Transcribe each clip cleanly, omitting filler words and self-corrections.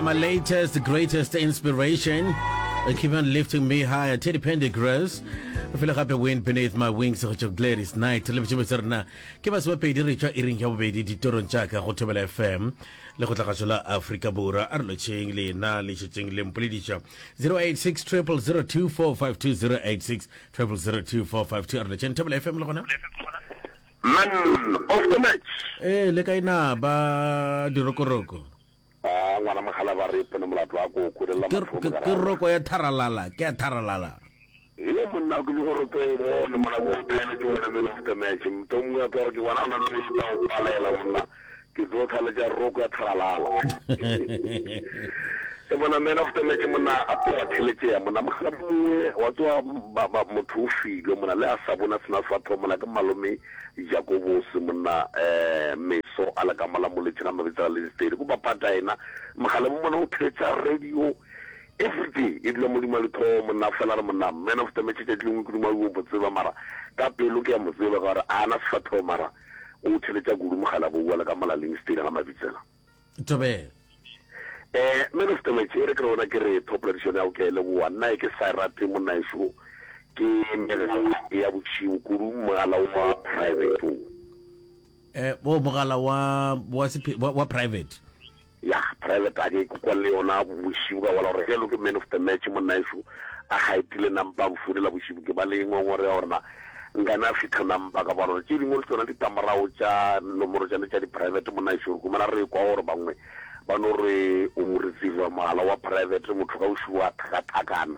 You are my latest, greatest inspiration. You keep on lifting me higher. Teddy Pendergrass. Fela gape wind beneath my wings go tšwa Gladys Knight le botšebe tsa rena ke masomepedi re tšwa iring ya bobedi ditorong tša ka go Thobela FM le go tlagašo la Afrika Borwa a re lotšheng lena le šetšeng le mpolediša 086 0002452 086 0002452 a re lotšheng Thobela FM le gona Man of the match. Ee, le kae na ba dirokoroko? A ngwana mogala ba re pone molato wa koko le la Ke, ke, ke roko ya tharalala, ke ya tharalala. Ee monna ke le gore tlo bone mona go thaeletše wena man of the match. Motho mongwe a tlo gore ke bona ona le tla o palela monna. Ke tlo thaletša roko ya tharalala. E bona man of the match monna a tloga theletšea monna mogala mongwe wa tsoa motho o filwe monna le a sa bona sena sefatho monna ke malome Jakobose monna eh meso a le ka mola moletše ga mabitsela le distedi ko bapata ena mogala mo mona o theletša radio everyday e dula modimo a letho monna fela re monna man of the match tšatši lengwe ke duma o mo tseba mara ka pelo ke ya mo tseba ka gore a na sefatho mara O theletša kudu mogala bo boela ka molaleng stele ga Mabitsela. Thobela. Eh, man of the match, e re ke re wena ke re top tradition ya go ke a e leboa. Nna e ke sa e rate monna ešo ke megala ya bošego kudu mogala wa private o. Eh, o mogala wa wa, wa, wa private. Ya private a ke kwa le yona bošibu ka bola gore ge lo ke man of the match monna ešo a gaetile nampa a mfounela bošibu ke ba le ngongore ya gore na nkane a fitha nampa ka bona gore tše dingwe le tsona ditlamorago tša nomoro tšane tša di-private monna ešo re humana re kwa gore bangwe ba no re o mo receiver mogala wa private motho ka bošibu a thakathakana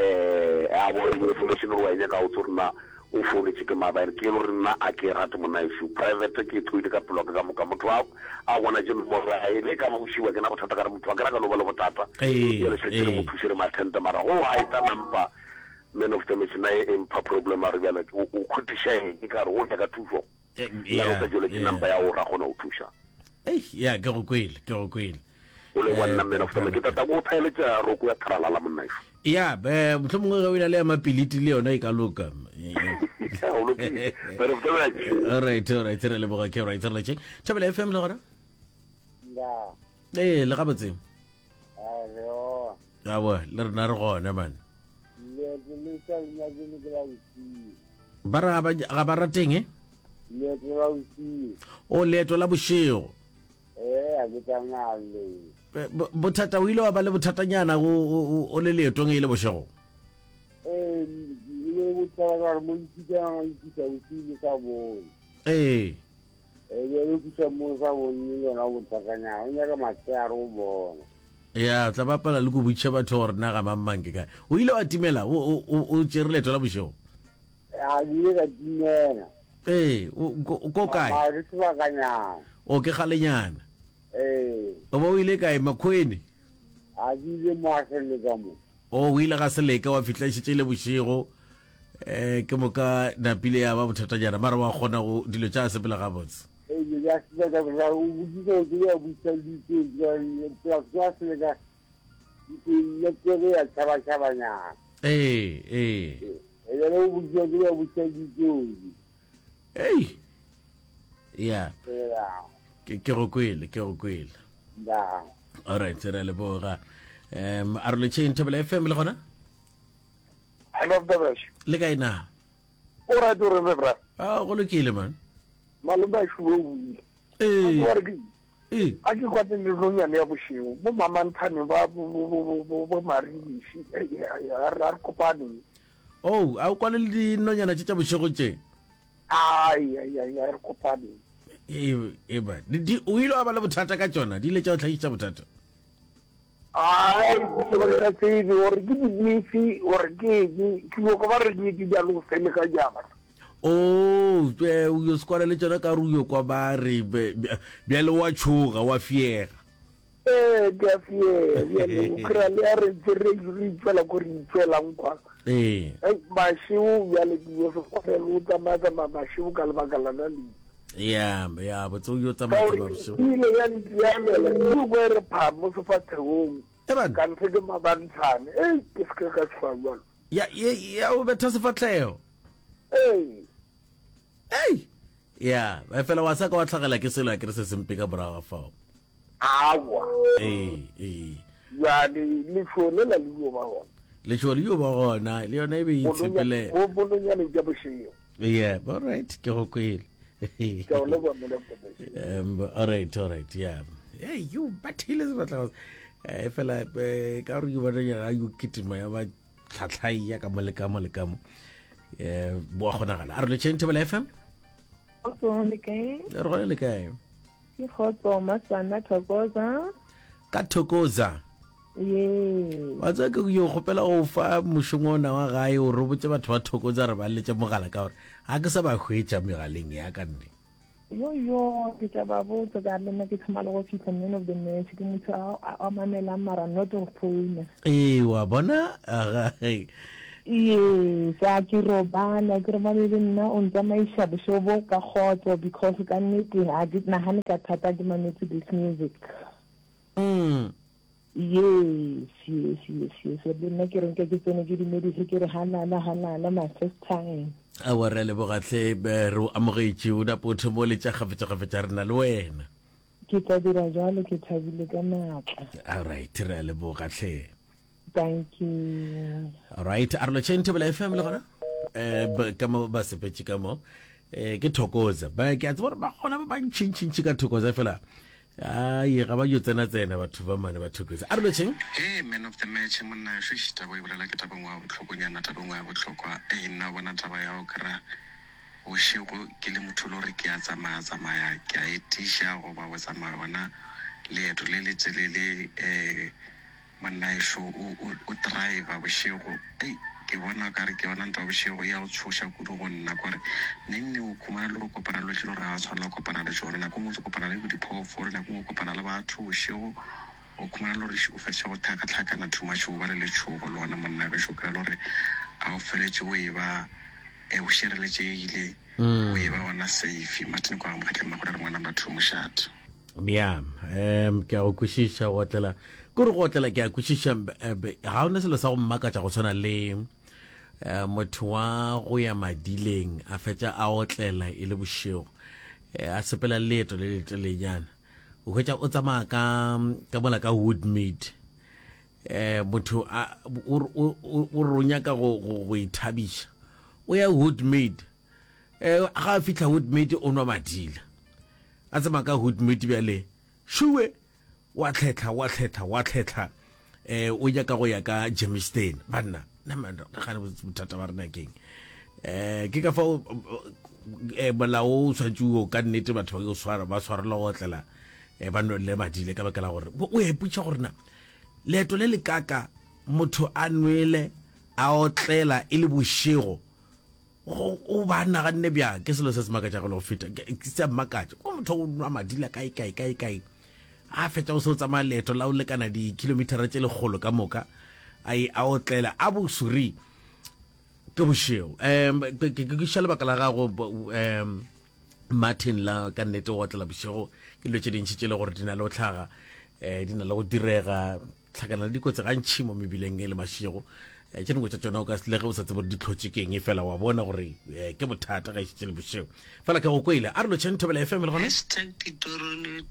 um a bona information gore wa e nyaka o tse gore na O founetše ke maabane, ke lo re nna a ke e rate monnaešo. Private ke e tloile ka pelo ya ka ka moka. Motho a a bona tše nomoro ya hae, le e ka ba bošego a ke na bothata ka re motho a ke ra ka no ba le bothata. Ee, Bjale šetše re mo ee. thuše re mo attend-e mara go a eta nampa man of the match nna e mpha problem a re bjale o o khutiša eng ka re o nyaka thušo. Eh, Nna yeah, o sa tšweletše yeah. number ya go ra kgona go thuša. Ei, ya ke go kwele, ke go kwele. O le wa Eh, nna man of the match. Ke tata go thaeletša roko ya tharalala monnaešo. Ya, eh, mohlomongwe ge o ena le ya mapiliti le yona e ka loka. Eh, O lokile. Man of the match. All right, all right, re leboga ke right, re letšeng. Thobela FM le gona? Ya, Ee, le gabotse. a re ona. Aowa, le rena re gona man. Leeto le sa le nyake le ke la bosigo. Ba re ga ba ga ba rateng eh? Leeto la bosigo. O leeto la bošego. Ee, a ke tsamaya le. Eh, Bothata o ile wa ba le bothatanyana o o o le leetong e le bošego. Ee, e le bothata ka gore mo ntšhitšana ntšhitša bosigo le sa bone. Ee. Ee, bjale fihla mo sa bone le yona bothatanyana, o nyaka matsheare o bona. Ya, tla bapala le go botšiša batho gore na ga mang mang ke kae. O ile wa timela, o o o o tšere leeto la bošego. A ke ile ka timela. Ee, o ko ko kae? Mara ke sebakanyana. O ke kgalenyana. Ee. O ba o ile kae Makgweni? A ke ile mo a Seleka mo. O o ile ga Seleka wa fihla e šetše e le bošego. Eh ke moka napile ya ba bothatanyana mara wa kgona go dilo tša sepela gabotse. Ee, dilo tša sepela gabotse. O botšiša o tsebe wa botšiša dilo tša Seleka le ya tšhabatšhabanyana. Ee, ee. Ee, bjale o botšiša o tsebe wa botšiša ditsotsi. Ei. Ya. Ke ke go kwele, ke go kwele. Da. All right, re a leboga. Um a re letšheng Thobela FM le gona? Hello, Mtabash. Le kae na? O right o re bra. Ah, go lokile man. Malome a shubo o ile. Ee. A ke Ee. A ke kwa teng nonyane ya bošego. Bo mamanthane ba bo bo bo bo bo maribiši. A re kopane. Oh, a o kwane le dinonyana tše tša bošego tše? Ai ai ai a re kopane. E e ba. Di o ile wa ba le bothata ka tšona, di ile tša o hlagišetša bothata. Ai, ke ba sa tsebe gore ke dibifi gore ke eng, ke nyoko ba re ke bjalo fele ka jana. Oh, eh, o yo sekwana le tšona ka re o yo kwa ba re bjale wa tšhoga wa fiega. Ee, ke a fiega bjale o kry-a le a re ntse re re itšwela ko re itšwelang kwa. Ee. Ei, mašego bjale ke yo sekwana le o tsamaya tsamaya mašego ka lebaka lona le. Ya, ya, botse o yo tsamaya tsamaya bošego. E ile ya ntiamela, ke kwa e re pha mo sefathegong. Eban. Ka ntse ke mabantshane. Ei, ke se ke ka tšhoga bjalo. Ya, ya, ya o betha sefahlego. Ee. Ei. Ya, efela wa sa ka wa tlhagela ke selo a ke re se sempe ka morago ga fao. Aowa. Ee, ee. Bjale letšhogo lela le yo ba gona. Letšhogo le yo ba gona, le yona e be e itshepele. Bo bononyane bja bošego. Yeah, all right, ke go kwele. Ke a o leboga man of the match. All right, all right, yeah. Hey, you bathile sebatla. Eh fela eh, ka gore you bona ya yo kitima ya ba tlhatlhai ya ka mo le ka mo le ka mo. Eh bo a kgonagala. A re le tšheng Thobela FM? Kgotso le kae? Re gona le kae? Ke kgotso Masana Thokoza. Ka Thokoza. Yes. Wa tseba ke yo kgopela go fa mošomo ona wa gae o re botse batho ba Thokoza re ba letse mogala ka gore ga ke sa ba hwetša megaleng ya ka nne. Yo yo ke tla ba botsa ka le nna ke thoma le go fihla man of the match ke motho a a mamelang mara not go founa. Ee wa bona aga Yes, a ke robala, ke robale le nna o ntsamaiša bošego bo ka kgotso because ka nnete ga ke nagane ka thata ke mametse this music. Mm. Yes, yes, yes, yes. Le nna ke re nke ke tsene ke dumedise ke re hanana hanana my first time. Aowa re a leboga hle re o amogetše o napo o thoma o letša kgafetšakgafetša re na le wena. Ke tla dira jalo ke thabile ka maatla. All right re a leboga hle. Thank you. All right, a re lotšheng Thobela FM le gona eh ka mo ba sepetše ka mo eh ke Thokoza ba ke a tseba gore ba gona ba bantšhintšhintši ka Thokoza fela ai ga ba yo tsena tsena batho ba mane ba Thokoza a re lotšheng Hey man of the match monna eish taba o e bolela ke taba engwe ya bohlokonyana taba engwe ya bohlokwa ei nna o bona taba ya go kry-a bošego ke le motho e le gore ke a tsamaya tsamaya ke a etiša goba go tsamaya gona leeto le le telele um Monnaešo o, o, o driver bošego. Ei, ke bona o ka re ke yona ntwa ya bošego e ya go tshoša kudu go nna. Kore neng neng o khumana le go kopana le dilo tše le gore ga wa tshwanela go kopana le tšona. Nako nngwe o tlo kopana le bo diphoofolo, nako nngwe o kopana le batho bošego. O khumana le gore o fetša go hlakahlakana too much, o ba le letšhogo le gona monna gešo. O kry-a le gore a o feletše o e ba o šireletšegile. O e ba gona safe. Martin kwa Mokgatleng Magole re ngwana batho mošate. Ya, um ke a go kwešiša go otlela. Ke gore go otlela ke a kwešiša eh, ga ona selo sa go mmakatša go tshwana le eh, motho wa go ya madileng a fetša a otlela e le bošego eh, a sepela leeto le letelenyana o hwetša o tsamaya ka ka mola ka Woodmead eh motho a o o o nyaka go go ithabiša o ya Woodmead eh ga a fihla Woodmead o nwa madila a tsamaya ka Woodmead bjale shuwe wa tlhetlha wa tlhetlha wa tlhetlha eh o nyaka go ya ka Germiston banna nna gane bothata ba rena keng eh ke ka fao eh molao o tshwanetse o ka nnete batho ba swara ba swarelwa go otlela eh ba nwele madile ka baka la gore o ya ipotša gore na Leeto le lekaka motho a nwele a otlela e le bošego, go o ba naganne bjang? Ke selo se se makatšago le go feta, se a mmakatša. Ko motho o nwa madila kae kae kae kae, a fetša o se o tsamaya leeto la o lekana dikilometara tše lekgolo ka moka, a e a otlela a bosuri ke bošego. Um ke ke kwešiša lebaka la gago um Martin la ka nnete go otlela bošego ke dilo tše dintši tše le gore di na le go tlhaga um di na le go direga tlhakana le dikotsi gantšhi mo mebileng e le mašego um tše dingwe tša tšona o ka le ge o sa tsebe gore di tlhotše keng e fela wa bona gore um ke bothata ga e šetše le bošego fela ke go kwele a re lotšheng Thobela FM le gona Hashtag ditorone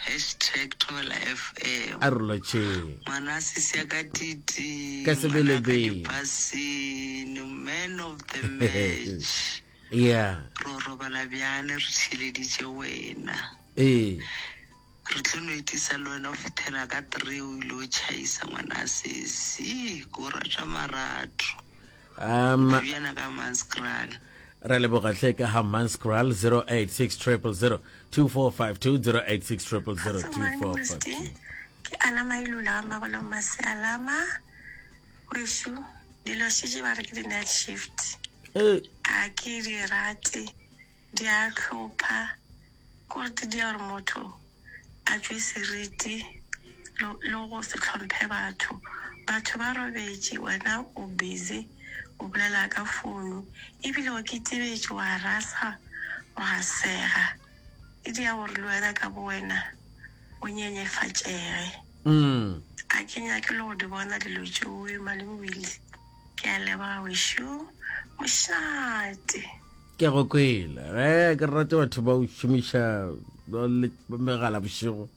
hashtag Thobela FM a re lotšheng ngwana sisi ya ka titi Ka ngwana ka sebelebele. dipasene man of the match Yeah. Ro robala bjale re theeleditše wena. Ee. Re tlo no itisa le wena go fihlela ka tree o ile o tšhaisa ngwana sesi. Ko rata marato. Um, Bjana ka Manskraal. Re leboga hle ka ha Manskraal 086 000 2452 086 000 2452. Ke Ana Mailula ga Magolo Masealama. Wešo, dilo šetše ba re ke di-night shift. Ga ke di rate, di a hlopha. Kore di dia gore motho a tšwe seriti le go se hlomphe batho. Batho ba robetše, wena o busy o bolela ka founu ebile o ketebetše wa rasa wa sega. E dia gore le wena ka bowena o nyenyefatšege. A ke nyake le go di bona dilo tšeoe, Malome Willie. Ke a leboga wešo. Mošate. Ke a go kwela. Ge ke rate batho ba o šomiša megala bošego.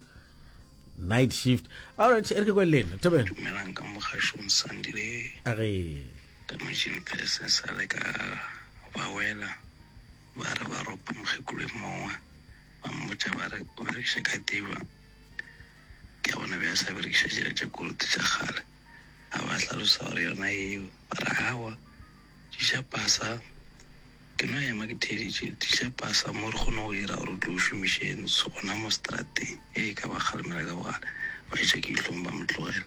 Night shift. All right, e re ke kwe le lena. Thobela. Dumelang ka mogašong Sandile. A re. Ka machine pese sa le ka ba wela ba re ba ropa mokgekolo e mongwe ba mmotša ba re o berekiša katiba ke a bona be a sa berekiša tšela tša kolote tša kgale a ba hlalosa gore yona eo ba re awa tliša pasa Ke no ema ke theeditše. Tliša pasa mo re kgone go dira gore o tle o šomiše ntsho gona mo seterateng. Ee, ka ba kgalemela ka bogale. Ba etša ke dihlong ba mo tlogela.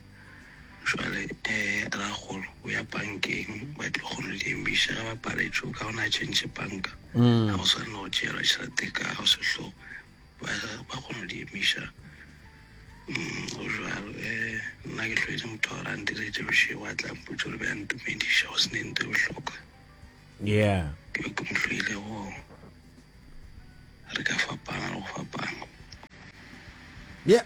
Jwale, eh, rakgolo o ya pankeng, ba tlo kgona go di emiša. Ge ba paletšwe, o kaone a tšhentšhe panka. Ga go swane le go tšeelwa tšhelete ka go sehlogo. Ba, ba kgona go di emiša. Mm, go jwalo. Eh, nna ke hloile motho wa gore a ntiretše bošego, a tla mpotša gore be a ntumediša, go se ne nto e bohlokwa. Yeah. Ke be ke mo hloile go re ka fapana le go fapana. Yeah.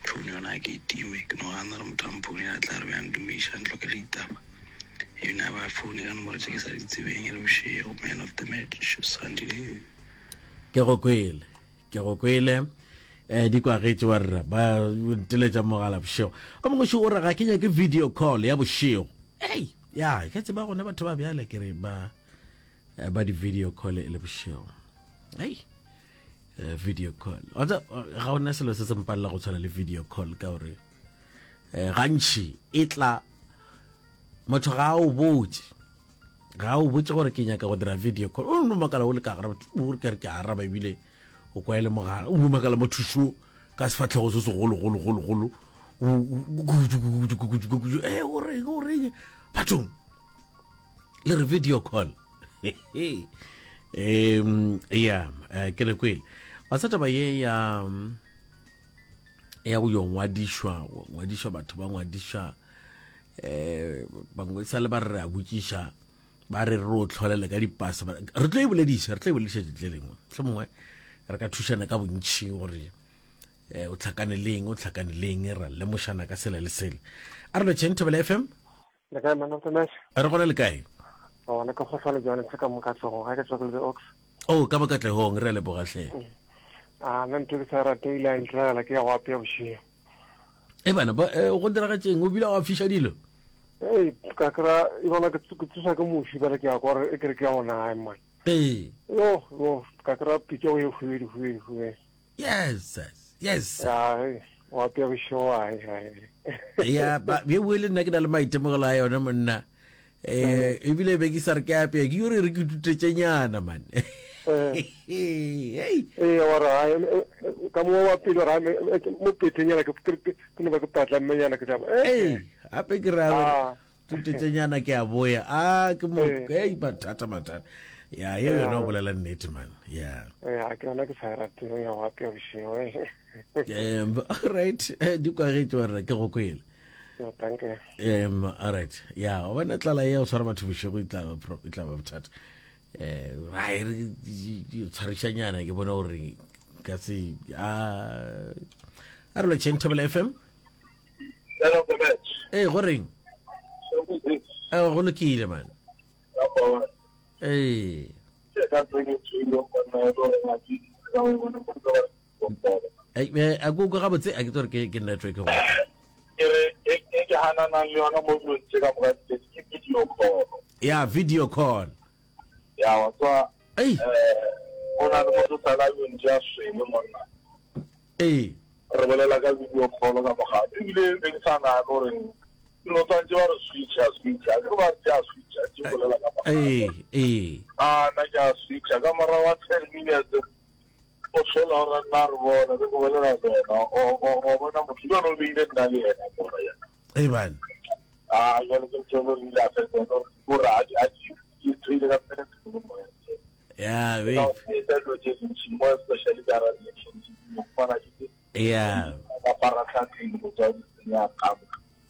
Phone yona a ke e time, ke no gana gore motho a mphounela a tla re be a ntumiša, a ntlokele ditaba. Ebile a ba foune ka nomoro tše ke sa di tsebeng e le bošego, man of the match, Sandile. Ke go kwele, ke go kwele. Eh, di kwagetše wa rra ba nteletša mogala bošego. O mongwe o re ga ke nyake video call ya bošego. Hey. Ya, ke tseba gona batho ba bjale ke re ba eh, ba di video call e le bošego. Hey. Eh, video call. Wa tseba, ga ona selo se se mpalela go tshwana le video call ka gore eh, gantši e tla motho ga a o botse ga o botse gore ke nyaka go dira video call o no makala o le ka gara o re ke re ke araba ebile o kwa e le mogala o no makala mothušo ka sefatlhego se segologologologolo e o reng o reng bathong le re video call um ya eh, ke re kwele wa sa taba ye ya ya go yo ngwadišwa ngwadišwa batho ba ngwadišwa um bangwe sa le ba re re a botšiša ba re re o tlholele ka dipasa re tlo e bolediša re tlo e bolediša tšatši le lengwe mohlomongwe re ka thušana ka bontšhi gore eh, o tlhakane leng o tlhakane leng ra lemošana ka sela le sele a re lotšheng thobela fm Le kae man of the match? Re gona le kae? Gona ke kgohlwane jwale se ka mo Katlehong ga ke tswa ke lebe ox. Oh ka mo Katlehong re a leboga hle. Mm. A nna ntho ke sa rate ile a ntiragala ke ya go apea bošego. E bana ba eh, go diragatšeng o bile wa fiša dilo? Ei ka kra e bona ke tsosa ke moši bale ke ya kwa e kere ke ya gona gae man. Ee. Yo yo ka kra pitša o e hubedu hubedu hubedu. Yes, yes. Ya, wa apea bošego ai ai. Ya, ba ye bue le nna ke na le maitemogelo a yone monna. Eh, ebile be ke sa re ke apea, ke yore re ke tutetšenyana man. Eh. Hey. Eh, wa re ai ka mo wa pele ra mo petenyana ke ke no ba ke patla mmenyana ke tla. Eh, hape ke ra ah. Tutetšenyana ke a boya. Ah, ke mo eh. hey mathata mathata. Ya, ye yona o bolela nnete man. Ya. Ya, ke yona ke sa rate ya go apea bošego. Um, all right, eh, di kwagetše wa rra ke go kwele. Thank you. Um, all right. Ya, o bona tlala ye o tshwara batho bošego e tla ba e tla ba bothata. Eh, ga e re tshwarišanyana ke bona gore ka se a a re lotšheng Thobela FM. Ee, go reng? Ee, go lokile man. Ee. A ko kwa gabotse a ke tsore ke ke network go. Ke re e ke hananang le yona mo dilong tse ka moka ke video call. Ya video call. Ya wa tswa. Ei. Eh, o na le motho sala yo ntse a swele monna. Ee. Re bolela ka video call ka mogala. Ebile be ke sa nagane gore no tsantse ba re switcha switcha. Ke ba re a switcha ke bolela ka mogala. Ee, ee. Ah, na ke a switcha ka morago wa 10 minutes. O hlola gore nna re bona re bolela le yena. O o bona motho jalo o beile nna le yena mona yena. Ee bana. Ah, jalo ke tsolo re ile a fetsa gore a a di tshwele ka pele ya be ya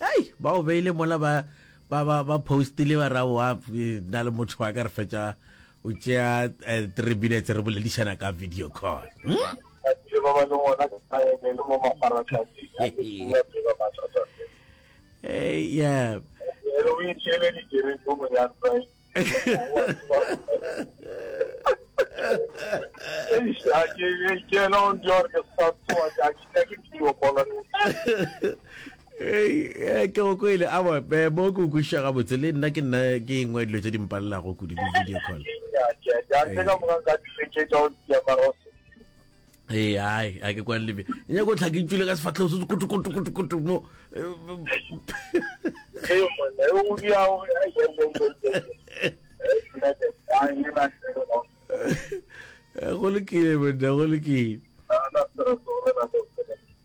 ai ba o beile mola ba ba ba ba postile ba ra wa na le motho wa ka re fetša o tšea eh, three minutes re boledišana ka video call hmm? Hey, yeah. Ei, ke go kwele awa eh, mo ke o kwešiša gabotse le nna ke nna ke engwe ya dilo tše di mpalelago kudu di video call. Ee, ai, a ke kwane lebe. Nyako tlha ke tšwile ka sefahlego se kutu kutu kutu kutu mo. Go lokile monna, go lokile.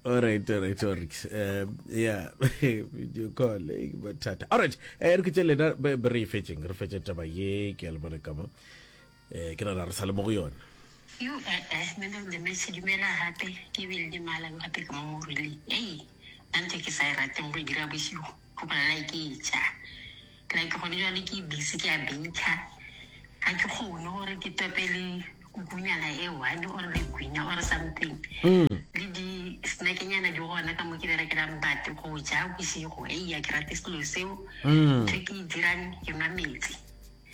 All right, all right, all right. Um, yeah, video call, eh, bothata. All right, eh, re ke tše lena re e fetšeng, re fetše taba ye ke a le bona ka mo. Eh, ke nagana re sa le mo go yona. Yo eh eh man of the match dumela gape ke bile le mala gape ke mo morile ei nna ntho e ke sa e rateng go e dira bošego go bolela like ke e ja like gone jwale ke busy ke a baker ga ke kgone gore ke tope le kukunyana e one or le gwinya or something le di snackenyana di gona ka mo ke berekelang but go ja bošego ei a ke rate selo seo ntho e ke e dirang ke nwa metsi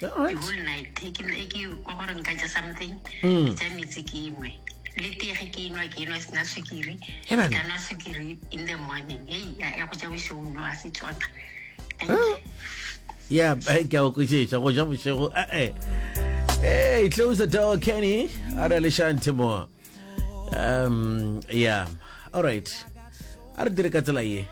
The whole night e ke e ke kwa gore nka ja something ke ja metsi ke nwe le tee ge ke enwa ke enwa sena sukiri He banna. ka nwa sukiri in the morning hei ya ya go ja bošego no a se tsona Thank you. ya eh, ke a go kwešiša go ja bošego eh hey close the door kenny a re le shante mo um yeah all right a re dire ka tsela ye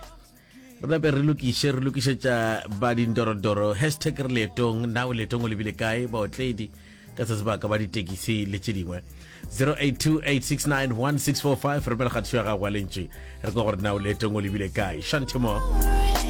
Re nape re lokiše, re lokišetša ba dindorodoro. Hashtag re leetong, na o leetong o lebile kae? Baotledi ka se sebaka ba ditekisi le tše dingwe. 0828691645 romela kgatišo ya gago ya lentši re kwa gore na o leetong o lebile kae. Shantimo.